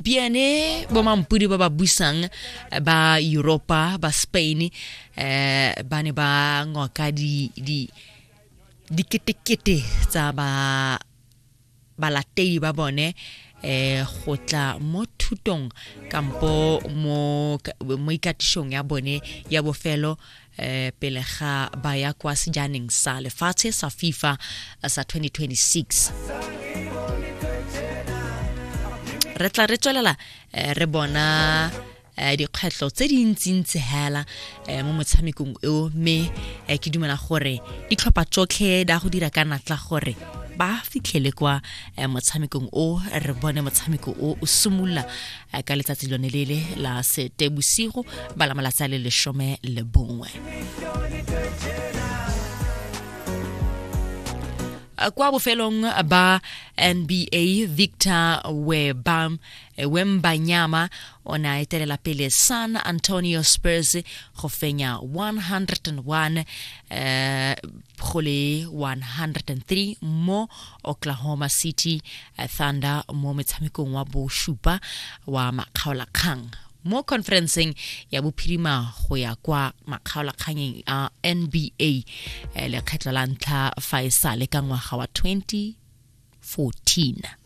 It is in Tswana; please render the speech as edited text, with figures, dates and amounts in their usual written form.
Gompiene bomampudi ba ba busang ba Europa ba Spain ba ne ba ngoka di di diketekete tsa ba balatedi ba bone eh go tla mo thutong kampo mo mo ikatišong ya bone ya bofelo eh pele ga ba ya kwa sejaneng sa lefatshe sa FIFA sa 2026. Re tla re tswelela re bona dikgwetlho tse dintsintsi hela mo motshamekong eo, mme ke dumela gore ditlhopha tsotlhe di a go dira ka natla gore ba fitlhele kwa motshamekong o. Re bone motshameko o o simolola ka letsatsi lone lele la sete bosigo ba la malatsi a le 11. Kwa bofelong ba NBA, Victor Webam Wembanyama o ne a etelela pele San Antonio Spurs go fenya 101 go le 103 mo Oklahoma City Thunder mo metshamekong wa bosupa wa makgaolakgang mo conferenceng ya bophirima go ya kwa makgaolakganyeng a NBA lekgetlho la ntlha fa e sale ka ngwaga wa 2014.